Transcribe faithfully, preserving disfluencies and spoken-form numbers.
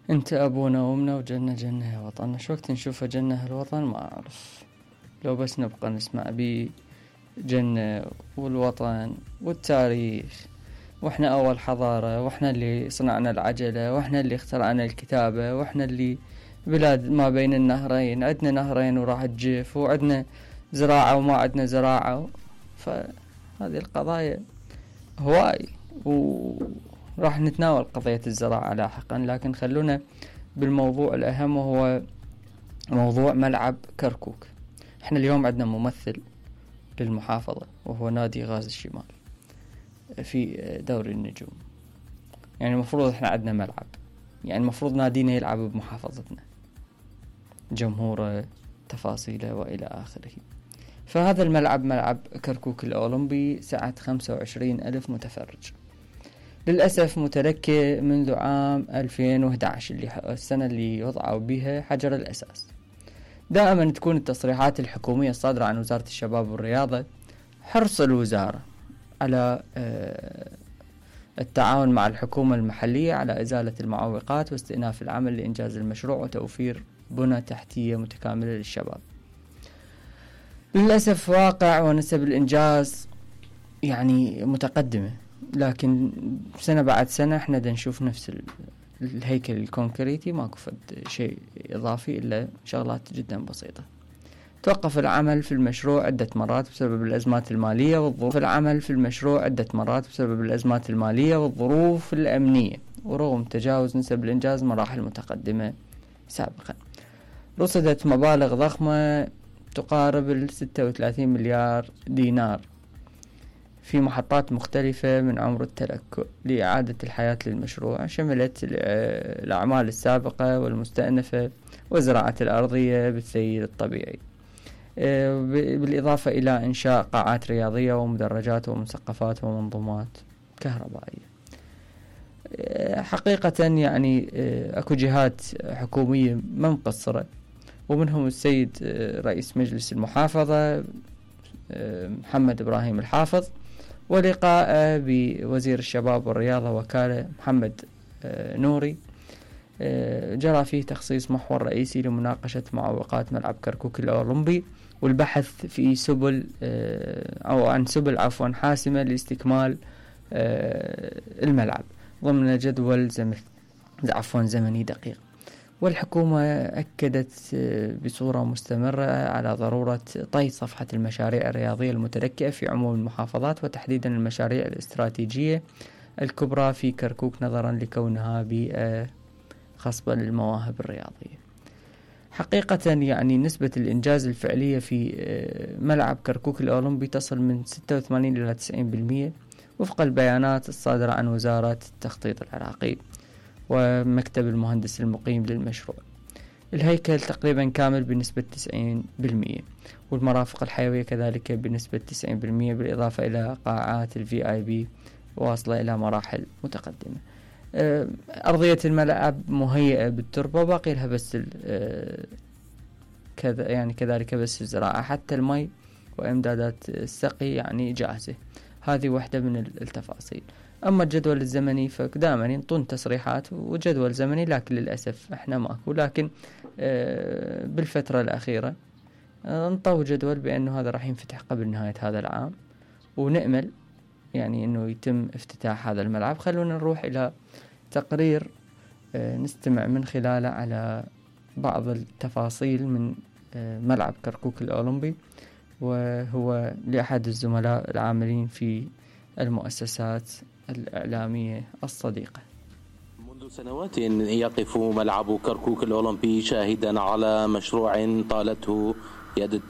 انت ابونا وامنا وجنة جنة يا وطن. شو وقت نشوفه جنة هالوطن ما اعرف، لو بس نبقى نسمع بيه جنة والوطن والتاريخ، واحنا اول حضارة، واحنا اللي صنعنا العجلة، واحنا اللي اخترعنا الكتابة، واحنا اللي بلاد ما بين النهرين، عدنا نهرين وراح تجف، وعدنا زراعة وما عدنا زراعة. فهذه القضايا هواي، وراح نتناول قضية الزراعة لاحقا، لكن خلونا بالموضوع الأهم وهو موضوع ملعب كركوك. احنا اليوم عندنا ممثل للمحافظة وهو نادي غاز الشمال في دوري النجوم. يعني المفروض احنا عندنا ملعب، يعني المفروض نادينا يلعب بمحافظتنا، جمهوره، تفاصيله وإلى آخره. فهذا الملعب ملعب كركوك الأولمبي سعة خمسة وعشرين ألف متفرج، للأسف متلكي منذ عام ألفين وأحد عشر اللي السنة اللي وضعوا بها حجر الأساس. دائما تكون التصريحات الحكومية الصادرة عن وزارة الشباب والرياضة حرص الوزارة على التعاون مع الحكومة المحلية على إزالة المعوقات واستئناف العمل لإنجاز المشروع وتوفير بنى تحتية متكاملة للشباب. للأسف واقع ونسب الإنجاز يعني متقدمة، لكن سنة بعد سنة احنا دا نشوف نفس الهيكل الكونكريتي، ماكو فد شيء إضافي إلا شغلات جدا بسيطة. توقف العمل في المشروع عدة مرات بسبب الأزمات المالية والظروف العمل في المشروع عدة مرات بسبب الأزمات المالية والظروف الأمنية، ورغم تجاوز نسب الإنجاز مراحل متقدمة سابقا. رصدت مبالغ ضخمة تقارب الستة وثلاثين مليار دينار في محطات مختلفة من عمر التلكؤ لإعادة الحياة للمشروع، شملت الأعمال السابقة والمستأنفة وزراعة الأرضية بالسيل الطبيعي، بالإضافة إلى إنشاء قاعات رياضية ومدرجات ومسقفات ومنظومات كهربائية. حقيقة يعني أكو جهات حكومية ما مقصرة، ومنهم السيد رئيس مجلس المحافظة محمد إبراهيم الحافظ، ولقاء بوزير الشباب والرياضة وكالة محمد نوري جرى فيه تخصيص محور رئيسي لمناقشة معوقات ملعب كركوك الأولمبي والبحث في سبل أو عن سبل عفوا حاسمة لاستكمال الملعب ضمن جدول زمن عفوا زمني دقيق. والحكومة أكدت بصورة مستمرة على ضرورة طي صفحة المشاريع الرياضية المتلكئة في عموم المحافظات، وتحديدا المشاريع الاستراتيجية الكبرى في كركوك نظرا لكونها بيئة خصبة للمواهب الرياضية. حقيقة يعني نسبة الإنجاز الفعلية في ملعب كركوك الأولمبي تصل من ستة وثمانين إلى تسعين بالمئة وفق البيانات الصادرة عن وزارة التخطيط العراقي ومكتب المهندس المقيم للمشروع. الهيكل تقريبا كامل بنسبة تسعين بالمئة، والمرافق الحيوية كذلك بنسبة تسعين بالمئة، بالإضافة إلى قاعات الفي آي بي واصلة إلى مراحل متقدمة. أرضية الملعب مهيئة بالتربة، باقي لها بس كذا يعني كذلك بس الزراعة، حتى المي وإمدادات السقي يعني جاهزة. هذه واحدة من التفاصيل. أما الجدول الزمني فدائما ينطون تصريحات وجدول زمني، لكن للأسف احنا ماكو. لكن بالفترة الأخيرة انطوا جدول بأنه هذا راح ينفتح قبل نهاية هذا العام، ونأمل يعني أنه يتم افتتاح هذا الملعب. خلونا نروح إلى تقرير نستمع من خلاله على بعض التفاصيل من ملعب كركوك الأولمبي، وهو لأحد الزملاء العاملين في المؤسسات الإعلامية الصديقة. منذ سنوات يقف ملعب كركوك الأولمبي شاهدا على مشروع طالته يد